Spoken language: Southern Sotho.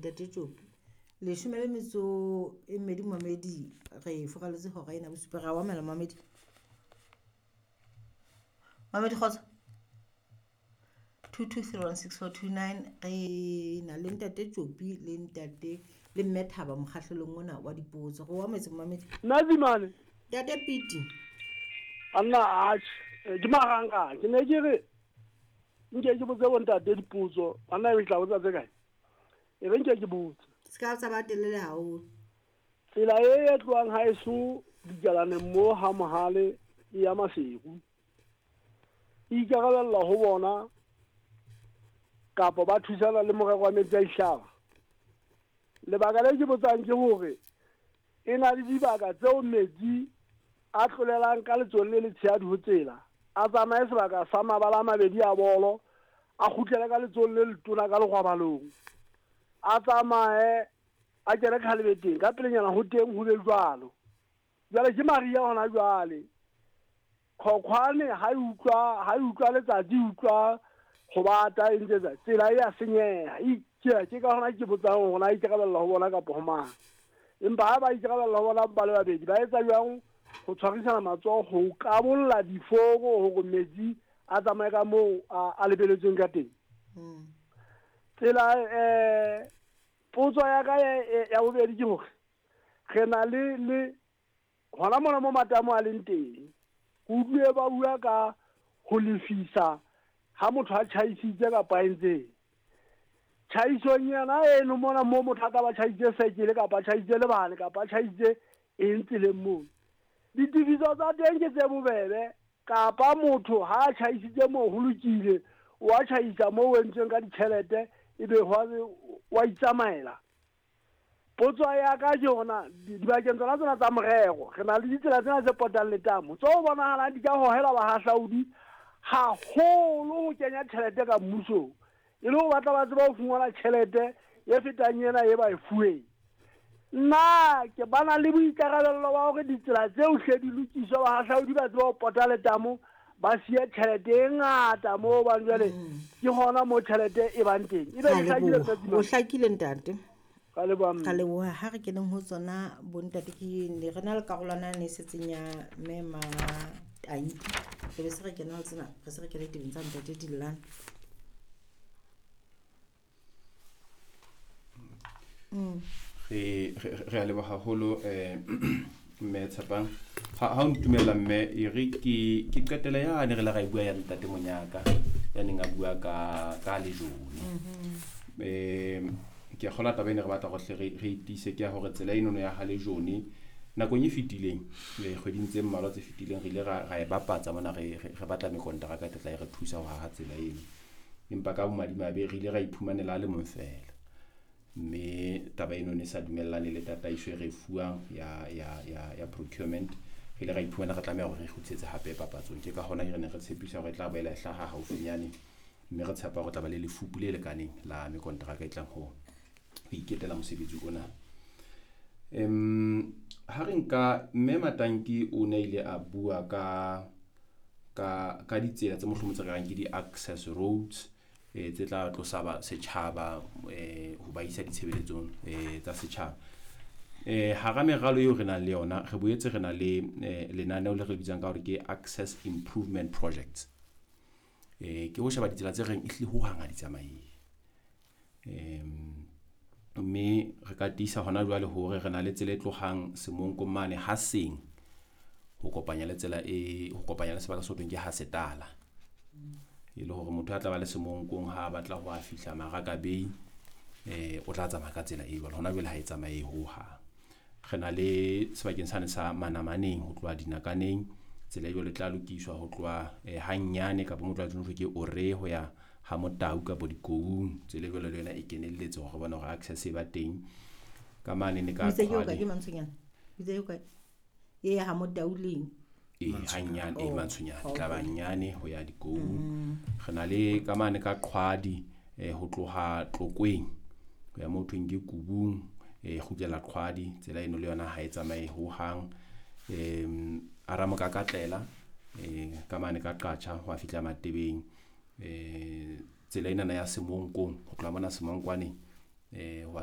Ntate Tjopi. 12 momedi re furaletse hora ena bosupa ra wa mela momedi. Mamedi kgotso. 22316429 re na le Ntate Tjopi le ntate le Mme Thaba mokgahlelong ona wa dipotso. Re o ametse momedi. Nna Zimane. Ntate Piti. Anna atjhe, ke marangrang. Ke ne ke re nke ke botse bontate dipotso. Banna e tla botsa tse kae? E re nke ke botse. Se ka tsa ba telele haholo. Tsela e e tlohang haeso dikalaneng mo ha Mohale e ya Maseru. E ikarabella ho bona kapa ba thusana le morero wa metsi a dihlaba. Lebaka le ke botsang ke hore e na le dibaka tseo metsi a tlolelang ka letsohong le letshehadi ho tsela, a tsamaye sebaka sa mabala a mabedi a bolo, a kgutlele ka letsohong le letona ka legwabalong, a tsamaye a kene khalebeteng ka pelenyana ho teng ho be jwalo. Jwale ke mariha hona jwale. Khokhwane ha e utlwa ha e utlwa letsatsi e utlwa ho bata e ntse etsa tsela e a senyeha. Ke ke ka hona ke botsang hore na ikarabella ho bona kapa ho mang. Empa ha ba ikarabella ho bona ba le babedi ba etsa jwang ho tshwarisana matsoho ho kabolla diforo hore metsi a tsamaye ka moo a lebeletsweng ka teng. Tsela potso ya ka ya bobedi ke hore re na le le hona mona mo matamo a leng teng. Ke utlwile ba bua ka ho lefisa ha motho a tjhaisitse kapa a entseng. Tjhaisong yona eno mona mo motho a ka ba tjhaisitse sekele kapa a tjhaisitse lebale kapa a tjhaisitse eng tseleng mono. Ditefiso tsa teng ke tse bobebe kapa motho ha a tjhaisitse moo ho lokile, wa tjhaisa moo o entsweng ka ditjhelete ebe wa itsamaela. Potso ya ka ke hore na dibakeng tsona tsena tsa morero re na le ditsela tsena tse potang letamo tseo bonahalang di ka hohela bahahlaudi haholo ho kenya tjhelete ka mmusong e le ho batla ba tseba ho fumana tjhelete e fetang ena e ba e fuweng. Nna ke bana le boikarabello ba hore ditsela tseo hle di lokiswe, bahahlaudi ba tseba ho pota letamo ba siye tjhelete e ngata moo hobane jwale ke hona moo tjhelete e bang teng. Ebe Ra ke hlakile leboha. Ntate O hlakile ntate. Ka leboha mme. Ka leboha. Ha re keneng ho tsona bontate ke ne re na le karolwana e ne e setseng ya mme Matanki. Re be se re kena ho tsena, re se re kene tebeng tsa ntate Dillane. Re a leboha haholo mme Tshepang. Ha o ntumella mme e re ke qetele yane re le ra e bua ya ntate Monyaka ya neng a bua ka lejone. Ke a kgolwa taba ena re batla hore hle re itiise ke ya hore tsela enono ya ha lejone nakong e fetileng, kgweding tse mmalwa tse fetileng re ile ra e bapatsa mona re batla mekonteraka e tla e re thusa ho haha tsela eno. Empa ka bomadimabe re ile ra iphumanela a le mong feela. Mme taba eno ne sa dumellane le tataiso e re fuwang ya procurement. Re ile ra iphumana re tlameha hore re kgutlisetse hape papatsong. Ke ka hona re ne re tshepisa hore e tla boela e hlaha haufinyane, mme re tshepa hore tla ba le lefupu le lekaneng la mekonteraka e tlang ho iketela mosebetsi ona. Ha re nka mme Matanki o ne ile a bua ka ditsela tse mohlomong tse re reng ke di-access roads tse tla tlosa ba setjhaba ho ba isa ditshebeletsong tsa setjhaba. Hara meralo eo re nang le yona, re boetse re na le lenaneo le re bitsang ka hore ke access improvement projects. Ke ho sheba ditsela tse reng ehlile hohang ha di tsamaye. Mme re ka tiisa hona jwale hore re na le tsela e tlohang Semonkong mane ha seng ho kopanya le tsela e ho kopanya le sebaka se ho thweng ke ha Setala. E le hore motho a tla ba le Semonkong ha a batla ho a fihla Maraka Bay, o tla tsamaya ka tsela e jwalo. Hona jwale ha e tsamaye hohang. Re na le sebakeng sane sa Manamaneng ho tloha Dinakaneng, tsela e jwalo e tla lokiswa ho tloha hanyane kapa mo tloha jwalo ke Ore ho ya ha Motau kapa Dikoung. Tsela e jwalo le yona e kenelletse hore re bone hore access e ba teng. Ka mane ne ka Itse ke o kae Qhwale. ke Mantshonyana? Itse ke o kae? E ha Motau leng? Hanyane, Oh, Mantshonyana, okay. tla ba nyane ho ya Dikoung. Re na le ka mane ka Qhwadi, ho tloha Tlokweng ho ya moo thweng ke Kubung, kgutlela Qhwadi, tsela eno le yona ha e tsamaye hohang. Aramokakatlela, ka mane ka Qacha ho a fihla Matebeng. Tsela enana ya Semonkong ho tloha mona Semonkwaneng, ho a